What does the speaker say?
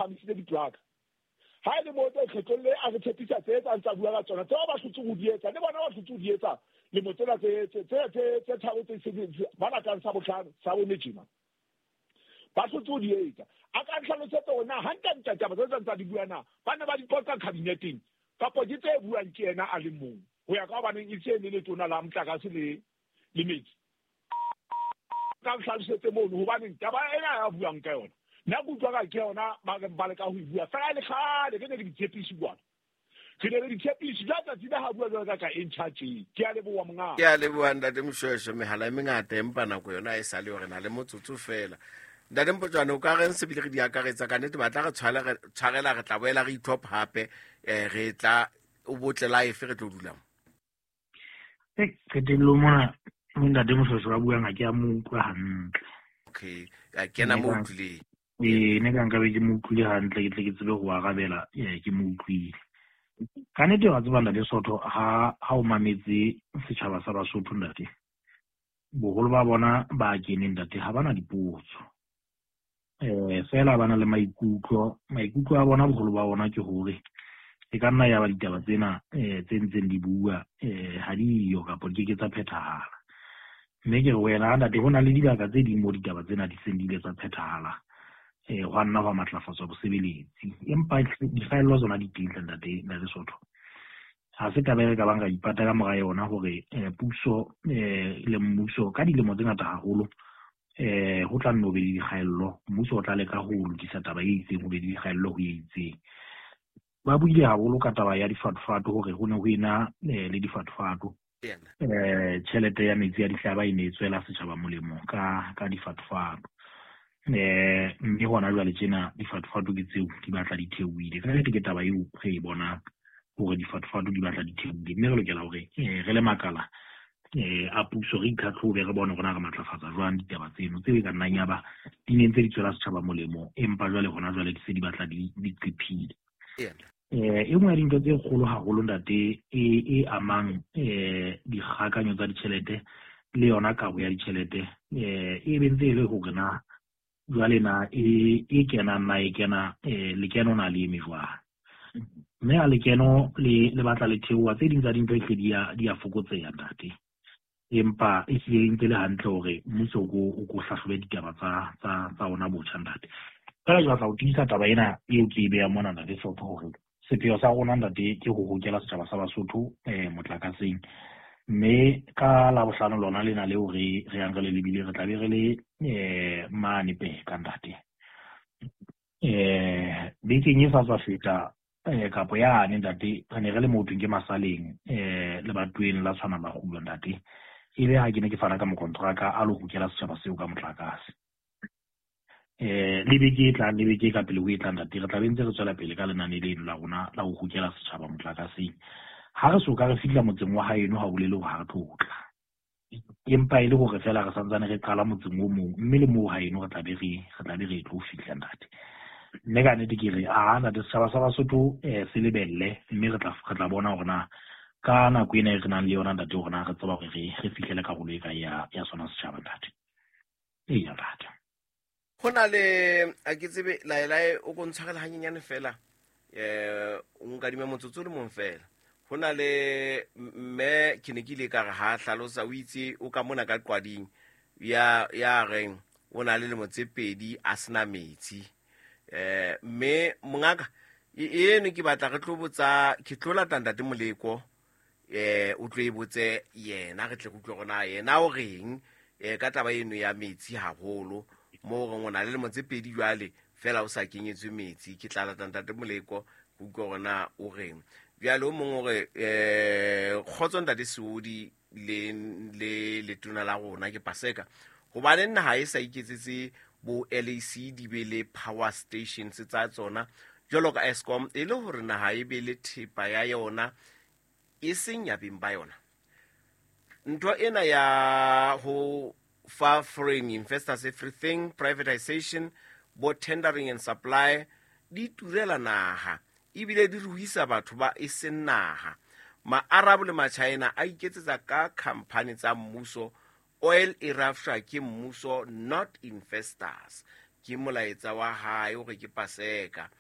Phahamisitse diplaka. Ha e le moo tse kgetlong le a re tshepisa tse tsa ntsa bua ka tsona, tseo ba hlotse ho di etsa, le bona ba hlotse ho di etsa lemo tsena tse tse tse tse tharo tse se ba latang sa bohlano sa bone tjena. Ba hlotse ho di etsa. A ka ntlhalosetsa hore na hantle-ntle taba tse tsa ntsa di bua na ba ne ba di qoqa kabineteng kapa ke tse buang ke yena a le mong ho ya ka hobaneng e se le letona la motlakase le le metsi. Ka nhlalosetse mono hobaneng taba ena ya buang ka yona nna ke utlwa ka ke yona ba reng ba leka ho e bua fela e le kgale re ne re di tshepise kwana re ne re di tshepise jwa tsatsi le ha bua jwalo ka ka e ntjha tje ke a leboha monga Ke a leboha ntate Moshweshwe. Mehala e mengata empa nako yona e sa le yo, re na le motsotso fela. Ntate Mpotjwane, o ka reng se bile re di akaretsa ka nnete ba tla re tshwarela re tla boela re itlhopha hape um re tla o botle life re tlo dulang. Qetellong mona mo ntate Moshweshwe a buang ha ke a mo utlwa hantle. Okay, a kena mo utlwileng. Ee, ne ka nkabe ke mo utlwile hantle ke tle ke tsebe ho arabela ke mo utlwile. Ka nnete wa tseba ntate Sotho ha ha o mametse setjhaba sa Basotho ntate, boholo ba bona ba keneng ntate ha bana dipotso. Feela ba na le maikutlo, maikutlo a bona boholo ba bona ke hore e ka nna ya ba ditaba tsena tse ntseng di bua ha di yo kapa di ke ke tsa phethahala. Mme ke re wena ntate ho na le dibaka tse ding mo ditaba tsena di seng di ile tsa phethahala hwa nna hwa matlafatswa bosebeletsi. Empa dikgaello tsona di teng hle ntate, ntate Sotho. Ha se taba e re ka bang ra ipata ka mora yona hore puso le mmuso ka dilemo tse ngata haholo ho tla nne ho be le dikgaello. Mmuso o tla leka ho lokisa taba e itseng, ho be le dikgaello ho e itseng. Ba buile haholo ka taba ya difatofatohore ho ne ho ena le difatofatoTjhelete ya metsi a dihlaba e ne e tswela setjhaba molemo ka ka difatofato. Mme hona jwale tjena difatofato ke tseo di batla di theohile. Ka nnete ke taba eo re e bonang hore difatofato di batla di theohile, mme re lokela hore re le makala a puso re itlhatlhobe re bone hore na re matlafatsa jwang ditaba tseno tseo e ka nnang ya ba di ne ntse di tswela setjhaba molemo, empa jwale hona jwale di se di batla di di qephile. E nngwe ya dintho tse kgolo haholo ntate e e amang dikgakanyo tsa ditjhelete le yona kabo ya ditjhelete e be ntse e le hore na jwale na e e kenang na e kena lekeno na le eme jwang. Mme ha lekeno le le batla le theoha tse ding tsa dintho ehlile di ya di ya fokotseha ntate. Empa e hlile e ntse le hantle hore mmuso o ko o ko hlahlobe ditaba tsa tsa tsa ona botjha ntate. Feela ke batla ho tiisa taba ena eo ke e behang mona ntate Hlopho hore sepheo sa rona ntate ke ho hokela setjhaba sa Basotho motlakaseng. Mme ka Labohlano lona lena leo re re yang re le lebile re tla be re le mane Peka ntate. Bekeng e sa tswa feta kapo yane ntate re ne re le mo thweng ke Masaleng lebatoweng la Tshwana Makgulo ntate. E be ha ke ne ke fana ka mokontraka a lo hokela setjhaba seo ka motlakase. Le beke e tlang le beke e ka pele ho e tlang ntate re tla be ntse re tswela pele ka lenane leno la rona la ho hokela setjhaba motlakaseng. Ha re so ka re fihla motseng wa haeno ha o bolele hore ha re tlo tla. Empa e le hore feela re santsane re qala motseng o mong mme le moo haeno re tla be re re tla be re tlo fihla ntate. Mme ka nnete ke re a ntate setjhaba sa Basotho se lebelle mme re tla re tla bona hore na ka nako ena e re nang le yona ntate hore na re tseba hore re re fihlele karolo e kae ya ya sona setjhaba ntate. Eya ntate. Go na le a ke tsebe laelae o ko ntshwarela hanyenyane fela o nkadime motsotso le mong fela. Go na le mme ke ne ke ile ka re ha hlalosa o itse o ka mona ka qwading ya ya reng o na le lemo tse pedi a sena metsi. Mme mongaka eno ke batla re tlo botsa ke tlo lata ntate Moleko o tlo e botse yena re tle re utlwe gona yena o reng ka taba eno ya metsi haholo mo reng o na le lemo tse pedi jwale fela o sa kenyetswe metsi. Ke tla lata ntate Moleko go utlwe gona o reng. Bjale o mongwe o re kgotso ntate Seodi le le letona la rona ke Paseka gobane naga e sa iketsetse bo LAC di be le power stations tsa tsona jwalo ka Eskom e le hore naha e be le thepa ya yona e seng ya beng ba yona. Ntho ena ya ho fa foreign investors everything, privatization, bo tendering and supply di turela naha ebile di ruisa batho ba e seng naha. Ma-Arab le ma-China a iketsetsa ka company tsa mmuso, oil e rafshwa ke mmuso not investors. Ke molaetsa wa hae hore ke Paseka.